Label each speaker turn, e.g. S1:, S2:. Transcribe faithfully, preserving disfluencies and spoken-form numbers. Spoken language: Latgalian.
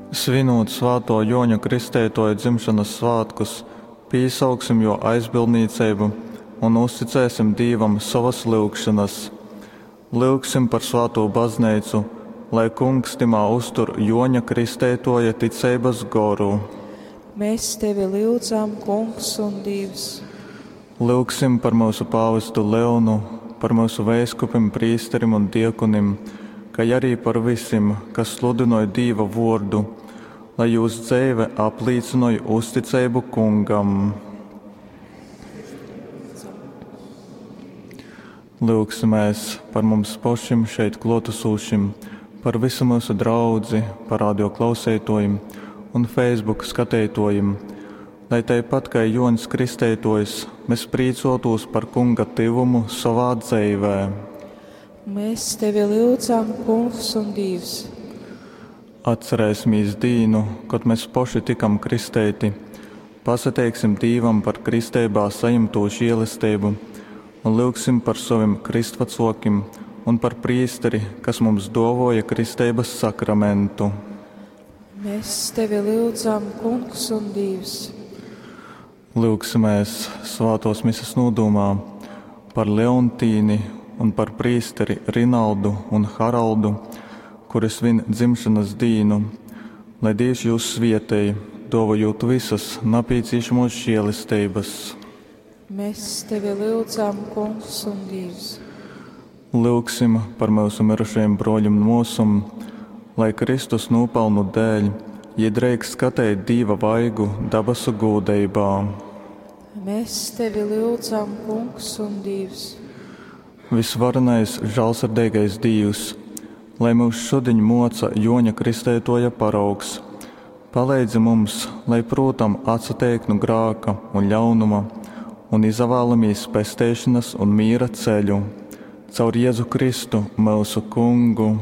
S1: Svinūt svātō Jōņa Kristeitōja dzimšonas svātkus, pīsauksim jō aizbildnīceibu un uzticēsim Dīvam sovas lyugšonas. Lyugsim par svātū Bazneicu, lai Kungs tymā uztur Jōņa Kristeitōja ticeibas goru.
S2: Mēs tevi lyudzam, Kungs un Dīvs.
S1: Lyugsim par myusu pāvestu Leonu, par myusu veiskupim, prīsterim un diakonim, kai ari par vysim, kas sludynoj Dīva vōrdu, lai jūs dzeive aplīcynoj uzticeibu Kungam. Lyugsimēs par mums pošim šeit klōtasūšim, par vysu myusu draudzi, par radio klauseitōjim un Facebook skateitōjim, lai taipat kai Jōņs Kristeitōjs mes prīcōtūs par Kunga tyvumu sovā dzeivē.
S2: Mēs tevi lyudzam, Kungs un Dīvs.
S1: Atcerēsimīs dīnu, kod mes poši tykam kristeiti, pasateiksim Dīvam par kristeibā sajimtū žielesteibu un lyugsim par sovim krystvacōkim un par prīsteri, kas mums dōvōja kristeibas sakramentu.
S2: Mēs tevi lyudzam, Kungs un Dīvs.
S1: Lyugsimēs svātōs mises nūdūmā par Leontīni un par prīsteri Rinaldu un Haraldu, kuri svin dzimšanas dīnu, lai Dīvs jūs svietej, dōvojūt visas napīcīšamos žēlesteibas.
S2: Mēs tevi lyudzam, Kungs un Dīvs.
S1: Lyugsim par myusu mirušajim brōļim un mōsom, lai Kristus nūpalnu dēļ jī dreikst skateit Dīva vaigu dabasu gūdeibā.
S2: Mēs tevi lyudzam, Kungs un Dīvs.
S1: Visvarenais žālsirdeigais Dīvs, lai myus šudiņ moca Joņa Kristeitoja paraugs, paleidzi mums, lai prūtam atsateikt nu grāka un ļaunuma un izavēlamīs pesteišanas un mīra ceļu. Caur Jēzu Kristu, myusu Kungu.